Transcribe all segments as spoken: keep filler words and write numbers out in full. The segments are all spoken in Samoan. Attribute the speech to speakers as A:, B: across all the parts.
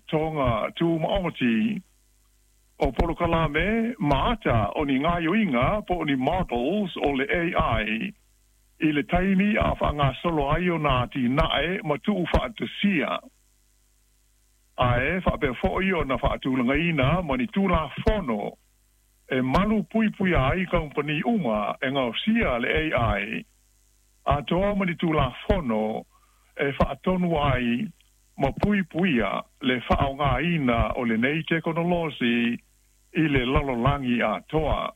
A: Faalapotopotoga Tumaoti, o polokalame ma ata o ni gaoioiga po o ni models o le A I i le taimi a faagasolo ai ona atinae ma tuufaatasia, ae faapea foʻi ona faatulagaina ma ni tulafono e malu puipuia ai kamupani uma e gaosia le A I, atoa ma ni tulafono e faatonu ai ma puipuia le faaaogāina o lenei tekonolosi i le lalolagi atoa.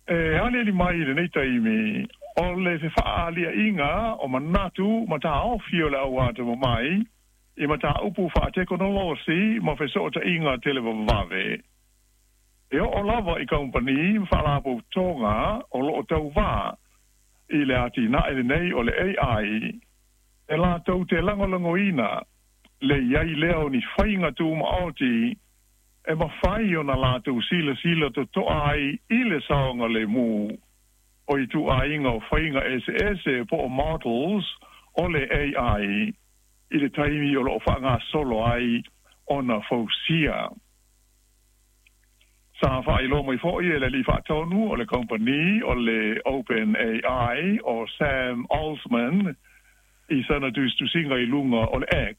A: E aliali mai i lenei taimi o le fefaaliaʻiga o manatu ma taofi o le au atamamai i mataupu faatekonolosi ma fesootaiga televavave e oo lava i kamupani ma faalapotopotoga o loo tauvā i le atinae lenei o le A I, e latou te lagolagoina le i ai lea o ni faiga tumaoti e mafai ona latou silasila totoa ai i le saogalemu o ituaiga o faiga eseese po o models o le A I i le taimi o loo faagasolo ai ona fausia. Sa faailoa mai foʻi e le alii faatonu o le company o le Open A I o Sam Altman i sana tusitusiga i luga o le X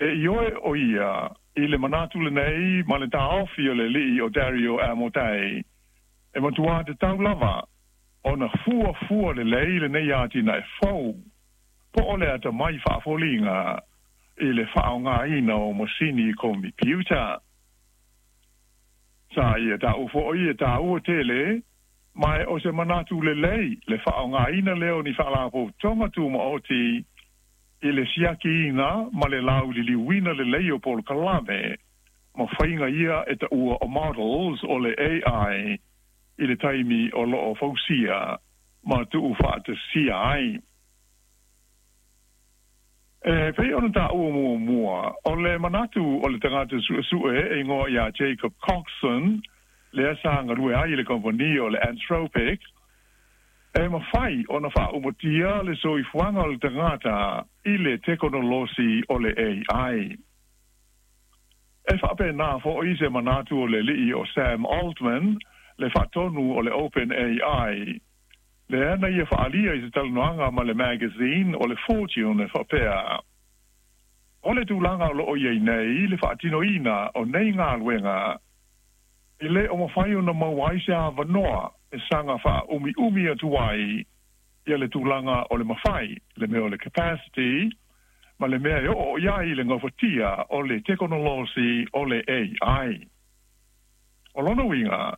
A: e ioe o ia i le manatu lenei ma le taofi o le alii o Dario Amodei e matuā tatau lava ona fuafua lelei lenei atinae fou po o le atamai faafoliga i le faaaogāina o masini komipiuta. Sa ia taua foʻi e tāua tele ma o se manatu lelei le faaaogāina lea o ni faalapotopotoga tumaoti i le siakiina ma le lauliliuina lelei o polokalame ma faiga ia e taua o models o le A I i le taimi o loo fausia ma tuufaatasia ai. E pei ona taua muamua, o le manatu o le tagata suesue e igoa ia Jacob Coxon, lea sa galue ai i le kompani o le Anthropic, e mafai ona faaumatia le soifuaga o le tagata i le tekonolosi o le A I. E faapena foʻi se manatu o le alii o Sam Altman, le faatonu o le Open A I, lea na ia faaalia i se talanoaga ma le magazine o le Fortune e faapea, o le tulaga o loo iai nei le faatinoina o nei galuega e lē o mafai ona maua ai se avanoa e saga faaumiumi atu ai ia le tulaga o le mafai le mea o le capacity ma le mea e oo i ai le gafatia o le tekonolosi o le A I. O lona uiga,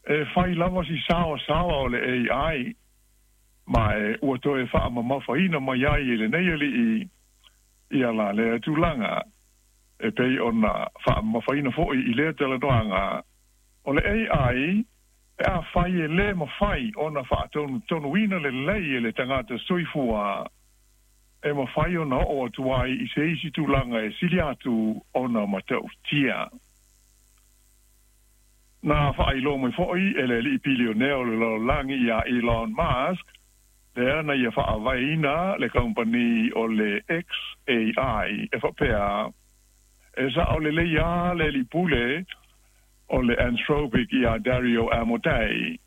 A: e fai lava si saosaoa o le A I, ma e ua toe faamamafaina mai ai e lenei alii ia la lea tulaga e pei ona faamamafaina foʻi i lea talanoaga o le A I pe afai e lē mafai ona faatonutonuina lelei e le tagata soifua e mafai ona oo atu ai i se isi tulaga e sili atu ona matautia. Na faailoa mai foʻi e le alii pilionea o le lalolagi ia Elon Musk, lea na ia faavaeina le kampani o le X A I, e faapea e sao lelei a le alii pule o le Anthropic ia Dario Amodei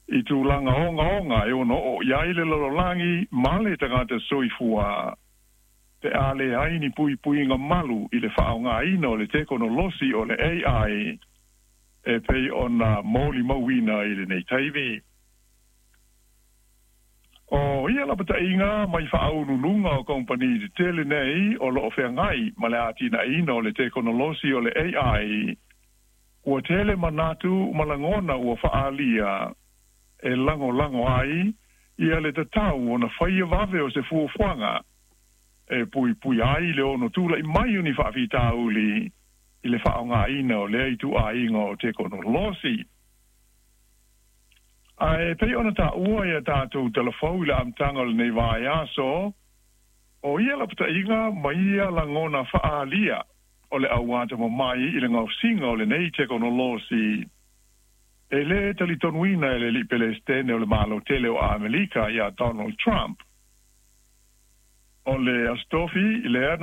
A: i tulaga ogaoga e ono oo i ai le lalolagi ma le tagata soifua pe a leai ni puipuiga malu i le faaaogāina o le tekonolosi o le A I e pei ona molimauina i lenei taimi. O ia lapataiga mai faauluuluga o kompani tetele nei o loo feagai ma le atinaeina o le tekonolosi o le A I, ua tele manatu ma lagona ua faaalia e lagolago ai ia le tatau ona faia vave o se fuafuaga e puipui ai le ono tulaʻi mai o ni faafitauli i le faaaogāina o lea ituaiga o tekonolosi. Ae pei ona taua ia tatou talafou i le amataga o lenei vaiaso, o ia lapataiga ma ia lagona faaalia o le au atamamai i le gaosiga o lenei tekonolosi e lē talitonuina e le alii Pelestene o le Malo tele o Amerika ia Donald Trump. O le Aso Tofi lea.